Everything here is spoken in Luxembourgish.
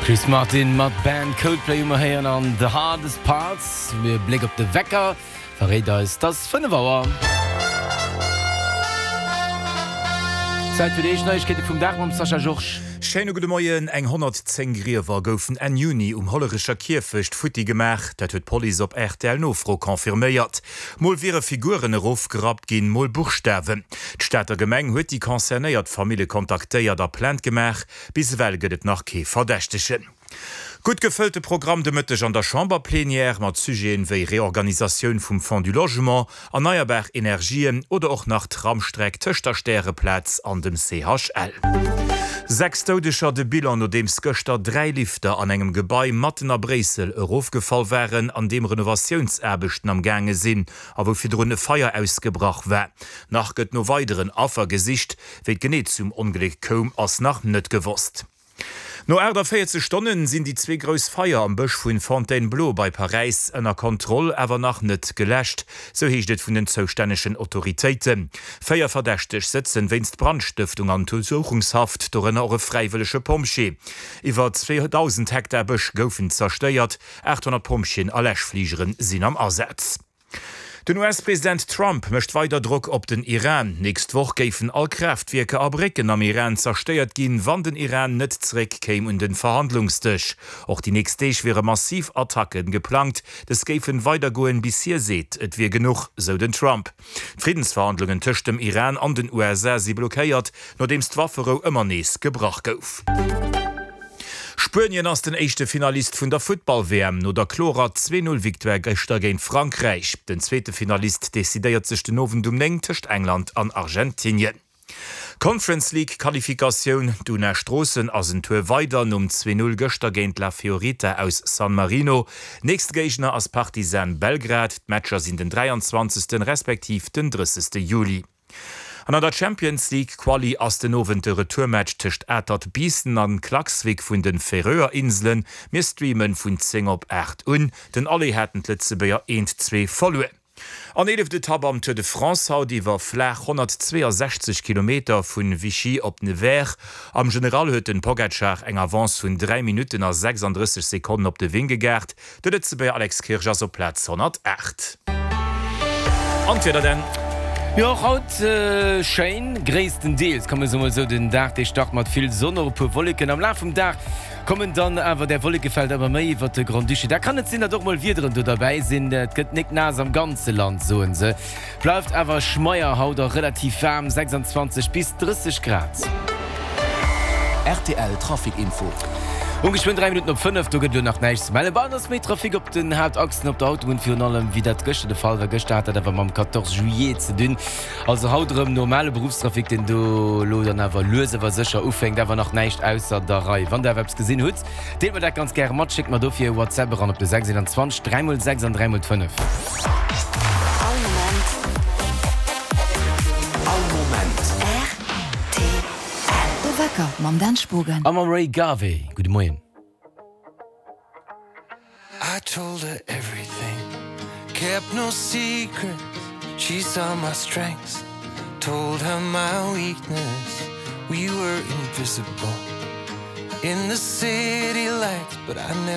Chris Martin mat Band Coldplay hu mer héieren an The Hardest Parts. E Bléck op de Wecker verréit eis, dass 5 Auer. Zäit fir déi éischt Neiegkeete vum Dag mam Sascha Georges. Schéine gudde Moien. Eng 110 Griewer goufen Enn Juni um Hollerecher Kierfecht futti gemaach. Dat huet d'Police op RTL-Nofro confirméiert. Mol wiere Figuren erofgerappt ginn, mol Buchstawen. D'Stater Gemeng huet déi concernéiert Famille kontaktéiert a Plainte gemaach. Bis ewell gëtt et nach kee Verdächtegen. Gutt gefëllte Programm de Mëtteg an der Chamberplenière mat Sujeten wéi Reorganisatioun vum Fonds du Logement, erneierbar Energien oder och nach Tramstreck tëscht der Stäreplaz an dem CHL. 6 Doudeger, de Bilan nodeems gëschter 3 Lifter an engem Gebai matten a Bréissel erofgefall waren, an deem Renovatiounsaarbechten am gaange sinn a wou virdrun e Feier ausgebrach war. Nach gëtt no weideren Affer gesicht. Wéi et genee zum Ongléck koum, ass nach net gewosst. No 48 Stonnen sinn déi zwee grouss Feier am Bësch vun Fontainebleau bei Paräis ënner Kontroll, awer nach net geläscht, sou heescht et vun den zoustännegen Autoritéiten. Véier Verdächteg sëtzen wéinst Brandstëftung an Untersuchungshaft, dorënner och e fräiwëllege Pompjee. Iwwer 2.000 Hektar Bësch goufen zerstéiert, 800 Pompjeeën a Läschfligere sinn am Asaz. Den US-President Trump mécht weider Drock op den Iran. Nächst Woch géifen all Kraaftwierker a Brécken am Iran zerstéiert ginn, wann den Iran net zeréck kéim un den Verhandlungsdësch. Och déi nächst Deeg wiere massiv Attacke geplangt. Dës géifen weider goen, bis hie seet, et wier genuch, sou den Trump. D'Friddensverhandlungen tëscht dem Iran an den USA si blockéiert, nodeems d'Wafferou ëmmer nees gebrach gouf. Spuenien ass den éischte Finalist vun der Futtball-WM no der klorer Zwee-Null-Victoire gëschter géint Frankräich. Den zweete Finalist decidéiert sech den Owend um 9 tëscht England an Argentinien. Conference League Qualifikatioun, D'Una Stroossen ass en Tour weider nom Zwee-Null gëschter géint La Fiorita aus San Marino. Nächste Géigner ass Partizan Belgrad. D'Matcher sinn den 23. Respektiv den 30. Juli. An an der Champions League Quali ass den Owend de Retourmatch tëscht Atert Biissen an Klaksvik vun den Färöer Inselen. Mir streamen vun 10 op 8 un. Den Aller haten d'Lëtzebuerger eent 2 verluer. An eeleft Etapp am Tour de France haut iwwer flaach 162 Kilometer vun Vichy op Nevers. Am General huet den Pogacar eng Avance vun 3 Minutten a 36 Sekonnen op de Vingegaard. De Lëtzebuerger Alex Kirsch ass op Plaz 108. An d'Wieder denn? Jo, och haut schéin, gréisstendeels, kann mir soe mol esou. Den Dag dee start mat vill Sonn, och e puer Wolleken. Am Laf vum Dag kommen dann awer där Wollekefelder ëmmer méi iwwert de Grand-Duché. Da kann et sinn, datt och mol Wiederen do derbäi sinn. Et gëtt nik naass am ganze Land, soe se. Bleift awer schmeier haut a relativ waarm, 26 bis 30 Grad. Rtl Trafic Info. Um geschwënn 3 Minutten op 5, do gëtt elo nach näischt ze mellen. Bei eis ass méi Trafic op den Haaptachsen op der Autobunn, virun allem wéi dat gëschter de Fall war. Gëschter hat dat awer mam 14 Juillet ze dinn. Also haut erëm normale Beruffstrafic, deen do elo dann awer lues awer sécher ufänkt. Awer nach näischt ausser der Rei. Wann der awer eppes gesinn hutt, Deelt mer dat ganz gäre mat, schéckt mer dofir e WhatsApp eran op de 6 21 3 mol 6 an 3 mol 5. All Moment. All Moment. Rtl. De Wecker mam Dan Spogen. A mam Ray Garvey. Gudde Moien. I told her everything, kept no secrets, she saw my strengths, told her my weakness, we were invisible in the city lights, but I never.